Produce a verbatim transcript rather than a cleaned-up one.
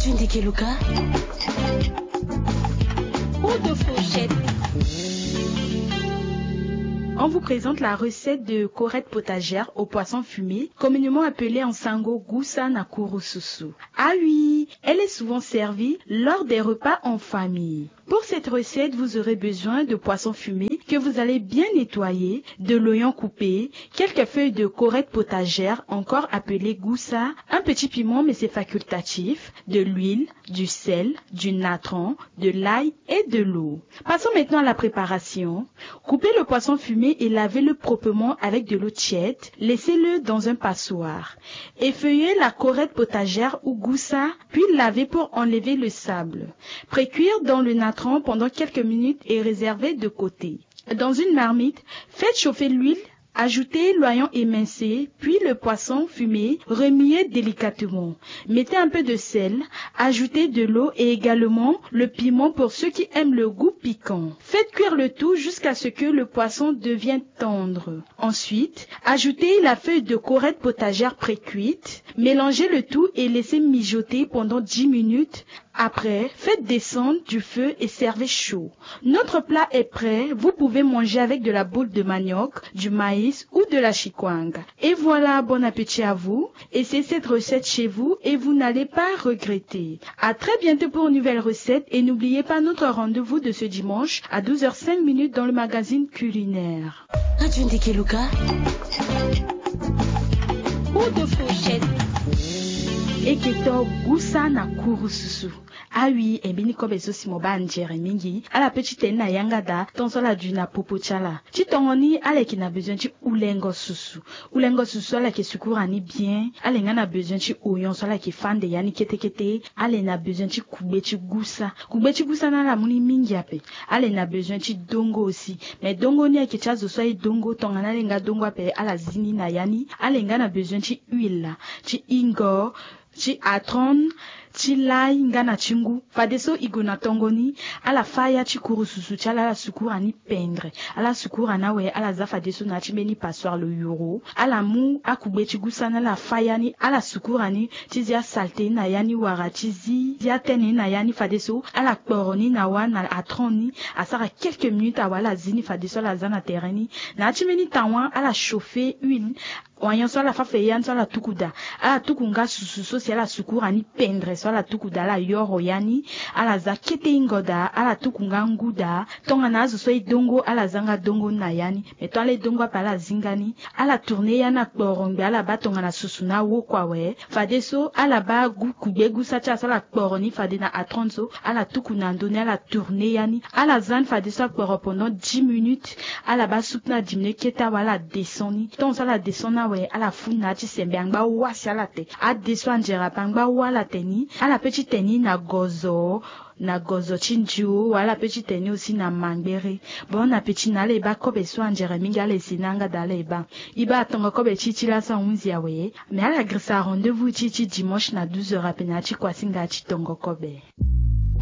Tundikeluka. Ou de fourchette. On vous présente la recette de corette potagère au poisson fumé, communément appelée en sango gusa na kurususu. Ah oui, elle est souvent servie lors des repas en famille. Pour cette recette, vous aurez besoin de poisson fumé que vous allez bien nettoyer, de l'oignon coupé, quelques feuilles de corette potagère, encore appelée gusa, un petit piment, mais c'est facultatif, de l'huile, du sel, du natron, de l'ail et de l'eau. Passons maintenant à la préparation. Coupez le poisson fumé et lavez-le proprement avec de l'eau tiède. Laissez-le dans un passoire. Effeuillez la corette potagère ou gusa, puis lavez pour enlever le sable. Précuire dans le natron pendant quelques minutes et réservez de côté. Dans une marmite, faites chauffer l'huile, ajoutez l'oignon émincé, puis le poisson fumé, remuez délicatement. Mettez un peu de sel, ajoutez de l'eau et également le piment pour ceux qui aiment le goût piquant. Faites cuire le tout jusqu'à ce que le poisson devienne tendre. Ensuite, ajoutez la feuille de corette potagère précuite, mélangez le tout et laissez mijoter pendant dix minutes. Après, faites descendre du feu et servez chaud. Notre plat est prêt, vous pouvez manger avec de la boule de manioc, du maïs ou de la chikwanga. Et voilà, bon appétit à vous. Essayez cette recette chez vous et vous n'allez pas regretter. À très bientôt pour une nouvelle recette et n'oubliez pas notre rendez-vous de ce dimanche à douze heures cinq minutes dans le magazine culinaire. Adjunde Keluka. Ou de fourchette. Eke to gusa na kurususu. Awi, e mbeni kobe so si mo baa nzere mingi. Ala pe ti tene na yanga daa, ton so ala dui na popo ti ala. Ti tongo ni, ala yeke na bezoin ti hulengo susu. Hulengo susu so ala yeke sukura ni bien. Ala yeke nga na bezoin ti oignon so ala yeke fande ya ni kete kete. Ala yeke na bezoin ti kugbe ti gusa. Kugbe ti gusa ni ala mu ni mingi ape. Ala yeke na bezoin ti dongo aussi. Mais dongo ni ayeke ti azo so aye dongo, tongana ala yeke nga dongo ape, ala zi ni na ya ni. Ala yeke nga na bezoin ti huile, ti hingo, ti atron, ti lay nga na ti ngu. Fadeso e gue na tongo ni, ala fâ ya ti kurususu ti ala, ala sukura ni pendre. Ala sukura ni awe, ala za fadeso na ya ti mbeni passoire lo yoro. Ala mu akugbe ti gusa ni, ala fâ ya ni, ala sukura ni ti zi asalte ni na ya ni, wala ti zi, zi atene ni na ya ni. Fadeso ala kporo ni na wâ na atron ni, asara quelques minutes awe, ala zi ni fadeso ala za na tere ni. Na ya ti mbeni tawa, ala chauffer huile. Oignon so ala fâ ape ya ni so ala tuku daa. Ala tuku nga susu so si ala sukura ni pendre so ala tuku daa, ala yoro ya ni. Ala za kete hingo daa, ala tuku nga ngu daa. Tongana azo so aye dongo, ala za nga dongo ni na ya ni. Mais tongana ala ye dongo ape, ala zi nga ni. Ala tourner ya ni na kporongbe, ala baa tongana susu ni awoko awe. Fadeso ala baa gu, kugbe gusa ti ala so ala kporo ni fade na atron so, ala tuku na ndö ni, ala tourner ya ni. Ala za ni fadeso akporo pendant dix minutes. Ala baa soupe ni adiminuer kete awe, ala descend ni. Tant so ala descend ni awe, ala fû ni na ya ti sembe, angba wâ si ala te. Adeso anzere ape, angba wâ ala te ni. Ala pe ti te ni na gozo, na gozo ti ndio, wala ala pe ti te ni aussi na mangbere. Bon appétit na ala e baa kobe so anzere mingi, ala e si ni yanga daa, ala e baa. E baa tongo kobe ti e ti laso ahunzi awe. Mais ala girisa rendez-vous ti e ti dimanche na douze heures ape na ya ti kuasinga ti tongo kobe.